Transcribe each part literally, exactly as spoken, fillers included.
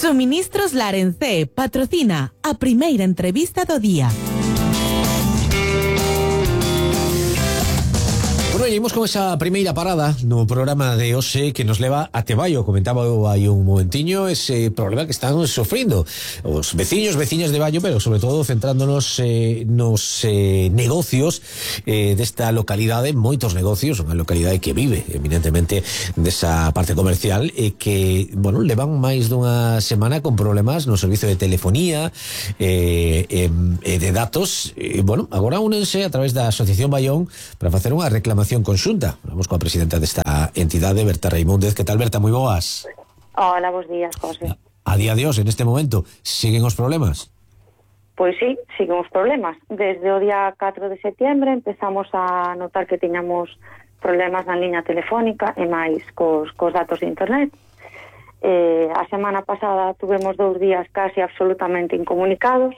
Suministros Larencé patrocina a primeira entrevista do día. Bueno, seguimos con esa primeira parada no programa de hoxe que nos leva a Teballo. Comentaba hai un momentiño ese problema que están sofrindo os veciños, veciñas de Ballo, pero sobre todo centrándonos eh, nos eh, negocios eh, desta localidade, moitos negocios, unha localidade que vive eminentemente desa parte comercial e que, bueno, levan máis dunha semana con problemas no servizo de telefonía e eh, eh, de datos e, bueno, agora únense a través da Asociación Ballón para facer unha reclamación conxunta. Vamos coa presidenta desta entidade, Berta Reimúndez. Que tal, Berta? Moi boas. Hola, bons días, José. A, a día de hoxe, neste momento, siguen os problemas? Pois sí, siguen os problemas. Desde o día catro de setiembre empezamos a notar que tiñamos problemas na liña telefónica e máis cos, cos datos de internet. Eh, a semana pasada tuvemos dous días casi absolutamente incomunicados.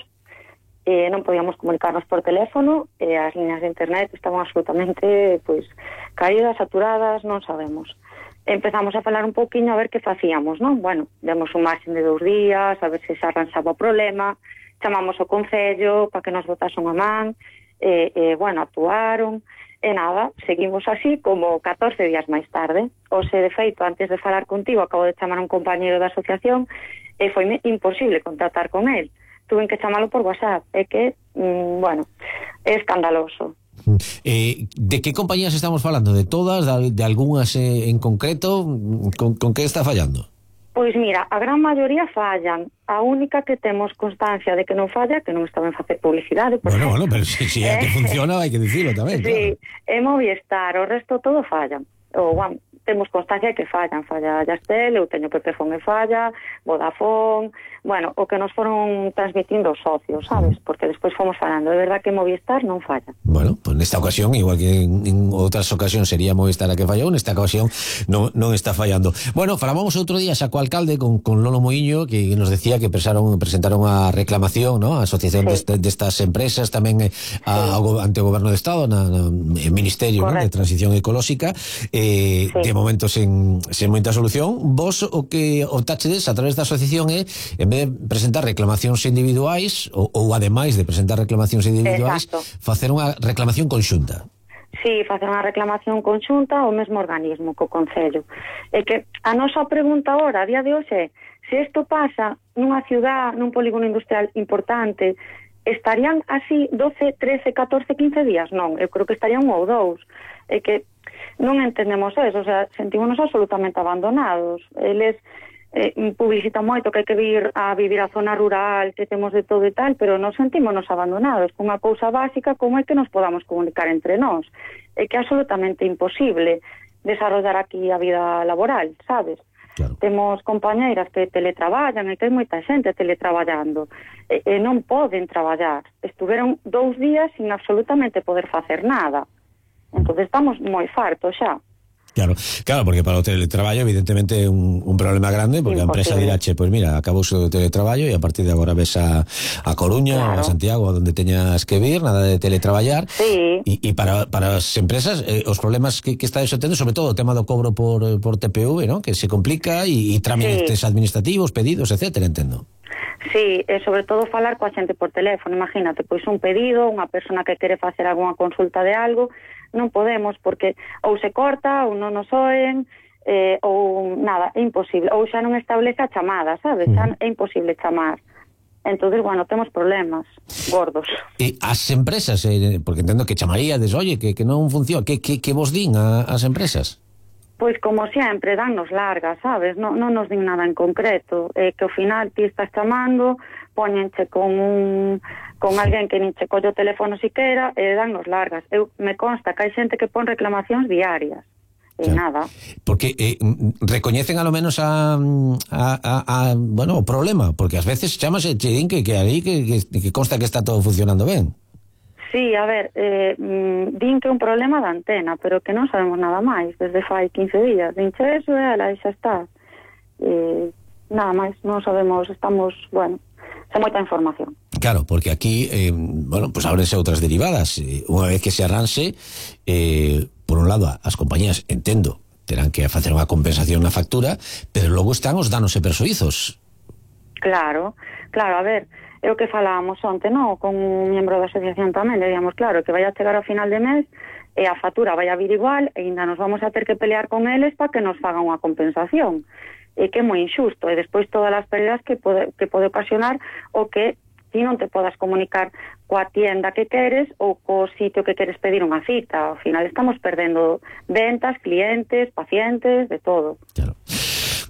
Eh, non podíamos comunicarnos por teléfono e as liñas de internet estaban absolutamente pois caídas, saturadas, non sabemos. Empezamos a falar un pouquiño a ver que facíamos, non? Bueno, demos un marxen de dous días a ver se se arranxaba o problema, chamamos o Concello para que nos botasen a man e, e bueno, actuaron e nada, seguimos así como catorce días máis tarde. O se de feito, antes de falar contigo, acabo de chamar a un compañeiro da asociación e foi imposible contactar con él. Tuve que chamalo por WhatsApp, é que, mm, bueno, é escandaloso. Eh, de que compañías estamos falando? De todas? De, de algunhas eh, en concreto? Con, con que está fallando? Pois mira, a gran maioría fallan. A única que temos constancia de que non falla, que non estaba en facer publicidade. Bueno, bueno, pero si, si é que funciona, hai que dicirlo tamén. Sí, claro. É Movistar, o resto todo fallan. O, bueno, temos constancia de que fallan. Falla Yastel, eu teño Pepefon e falla, Vodafone, bueno, o que nos foron transmitindo os socios, sabes? Porque despois fomos falando. É verdad que Movistar non falla. Bueno, pues nesta ocasión, igual que en, en outras ocasións sería Movistar a que fallou, nesta ocasión non, non está fallando. Bueno, falábamos outro día xa co alcalde, con, con Lolo Moiño, que nos decía que presentaron, presentaron a reclamación, ¿no? A asociación sí. destas destas empresas, tamén a, sí. ao, ante o Goberno do Estado, na, na Ministerio, ¿no? de Transición Ecolóxica, eh, sí. de momento sen, sen moita solución. Vos o que optachedes a través da asociación é, en vez de presentar reclamacións individuais ou, ou ademais de presentar reclamacións individuais, exacto, facer unha reclamación conxunta. Sí, facer unha reclamación conxunta ao mesmo organismo, co Concello. É que a nosa pregunta agora, a día de hoxe, se isto pasa nunha ciudad, nun polígono industrial importante, estarían así doce, trece, catorce, quince días? Non, eu creo que estarían un ou dous. É que non entendemos eso, o sea, sentímonos absolutamente abandonados. Eles eh, publicitan moito que hai que vir a vivir a zona rural, que temos de todo e tal, pero nos sentímonos abandonados con unha cousa básica como é que nos podamos comunicar entre nós. É que é absolutamente imposible desarrollar aquí a vida laboral, sabes? Claro. Temos compañeiras que teletraballan e que hai moita xente teletraballando e, e non poden traballar. Estuveron dous días sin absolutamente poder facer nada. Entón estamos moi fartos xa. Claro, claro, porque para o teletraballo evidentemente é un, un problema grande, porque imposible. A empresa dirá, che, pois pues mira, acabou o teletraballo e a partir de agora ves a, a Coruña, claro, ou a Santiago, onde teñas que vir, nada de teletraballar. Sí. E, e para, para as empresas, eh, os problemas que, que está tendo, sobre todo o tema do cobro por, por T P V, ¿no? Que se complica e, e trámites sí. administrativos, pedidos, etcétera, entendo. Sí, e sobre todo falar coa xente por teléfono. Imagínate, pois un pedido, unha persona que quere facer algunha consulta de algo, non podemos porque ou se corta ou non nos oen, eh, ou nada, é imposible, ou xa non establece a chamada, sabes? Xa é imposible chamar. Entonces, bueno, temos problemas gordos. E as empresas, eh, porque entendo que chamaríades, oye, que, que non funciona, que, que, que vos din a, as empresas? Pois como sempre, dannos largas, sabes? Non, non nos din nada en concreto. Eh, que ao final ti estás chamando, poñenche con un con alguén que nin che colle o teléfono siquera e dannos largas. Eu me consta que hai xente que pon reclamacións diarias. E claro, nada. Porque eh, recoñecen a lo menos a, a, a, a bueno, o problema, porque ás veces chamas e che din que, que aí que, que, que consta que está todo funcionando ben. Sí, a ver, eh, din que é un problema da antena, pero que non sabemos nada máis, desde fai quince días. Dinche eso e ela, e xa está. Eh, nada máis, non sabemos, estamos, bueno, sen moita información. Claro, porque aquí, eh, bueno, pues ábrense outras derivadas. Eh, unha vez que se arranxe, eh, por un lado, as compañías, entendo, terán que facer unha compensación na factura, pero logo están os danos e persuizos. Claro, claro, a ver, é o que falábamos onte, non? Con un membro da asociación tamén, le digamos, claro, que vai a chegar ao final de mes e a factura vai a vir igual e ainda nos vamos a ter que pelear con eles para que nos fagan unha compensación. E que é moi injusto, e despois todas as pérdidas que pode, que pode ocasionar o que ti non te podas comunicar coa tienda que queres ou co sitio que queres pedir unha cita. Ao final estamos perdendo ventas, clientes, pacientes, de todo. Claro.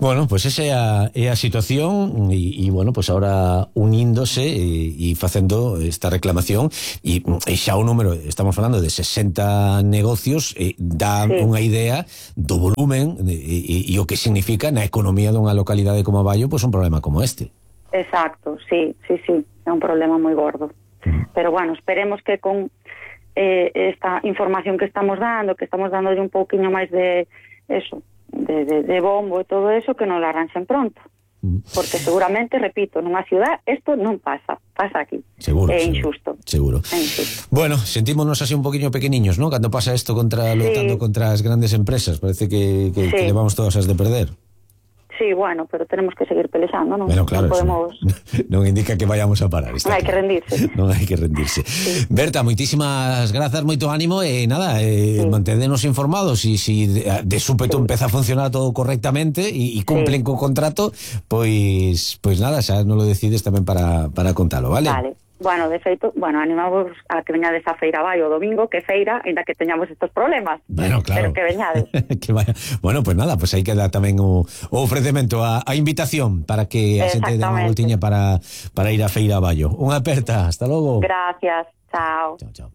Bueno, pues esa é a, é a situación e, e bueno, pues ahora uníndose e, e facendo esta reclamación e, e xa o número, estamos falando de sesenta negocios, e dá sí. unha idea do volumen e, e, e o que significa na economía dunha localidade como Aballo, pues un problema como este. Exacto, sí, sí, sí, é un problema moi gordo. Mm. Pero bueno, esperemos que con eh, esta información que estamos dando, que estamos dándolle un pouquiño máis de eso, de, de, de bombo e todo eso, que non lo arranxen pronto. Mm. Porque seguramente, repito, nunha ciudad isto non pasa, pasa aquí. Seguro, é seguro, injusto. Seguro. É injusto. Bueno, sentímonos así un poquinho pequeniños, ¿no? Cando pasa isto contra, sí. lutando contra as grandes empresas, parece que, que, sí. que levamos todas as de perder. Sí, bueno, pero tenemos que seguir pelexando, non? Bueno, claro, non podemos... non indica que vayamos a parar. Non hai claro. que rendirse. Non hai que rendirse. Sí. Berta, moitísimas grazas, moito ánimo e nada, eh, sí. mantédenos informados e si de, de súpeto sí. empeza a funcionar todo correctamente e, e cumplen sí. co contrato, pois pois nada, xa non lo decides tamén para, para contalo, vale? Vale. Bueno, de feito, bueno, animamos a que veñades a Feira Aballo o domingo, que feira, ainda que teñamos estos problemas. Bueno, claro. Pero que veñades. que vaya. Bueno, pues nada, pues aí queda tamén o, o ofrecemento, a, a invitación para que a xente dé unha voltiña para, para ir a Feira Aballo. Unha aperta, hasta logo. Gracias, chao. Chao, chao.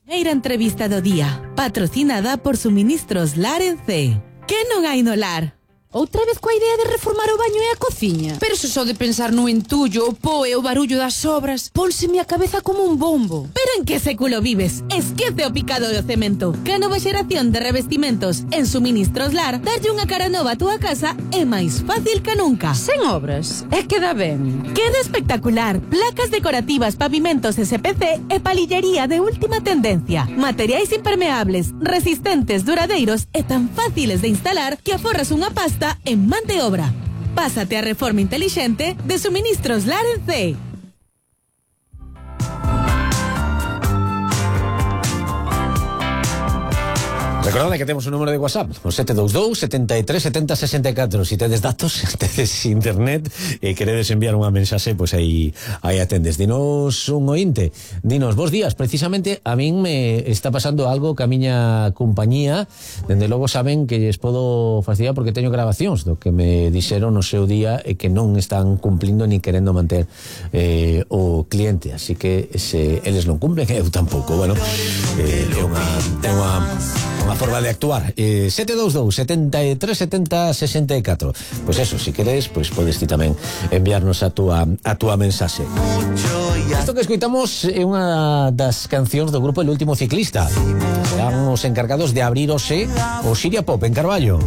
Primeira entrevista do día, patrocinada por Suministros Lar en C. Que non hai no lar? Outra vez coa idea de reformar o baño e a cociña? Pero se só de pensar no entullo, o po e o barullo das obras, pónseme a cabeza como un bombo. Pero en que século vives? Esquece o picado do cemento. Que a nova xeración de revestimentos en Suministros Lar darlle unha cara nova a túa casa é máis fácil que nunca. Sen obras, é que dá ben. Queda espectacular. Placas decorativas, pavimentos S P C e palillería de última tendencia. Materiais impermeables, resistentes, duradeiros e tan fáciles de instalar que aforras unha pasta en man de obra. Pásate a reforma inteligente de Suministros Lar en C. Recordade que temos un número de WhatsApp, o sete dous dous, setenta e tres, setenta, sesenta e catro. Si tedes datos, tedes internet e queredes enviar unha mensaxe, pois pues aí aí atendes. Dinos un ointe, dinos, bos días, precisamente a min me está pasando algo que a miña compañía, dende logo saben que lles podo facilitar porque teño grabacións do que me dixeron no seu día e que non están cumplindo ni querendo manter eh, o cliente, así que se eles non cumplen, eu tampouco. Bueno, eh, é unha é unha unha forma de actuar. eh, sete dous dous, setenta e tres, setenta, sesenta e catro. Pois eso, se queres, pois podes ti tamén enviarnos a túa a túa mensaxe. Isto que escoitamos é unha das cancións do grupo El Último Ciclista. Serán os encargados de abrir hoxe o Siria Pop en Carballo.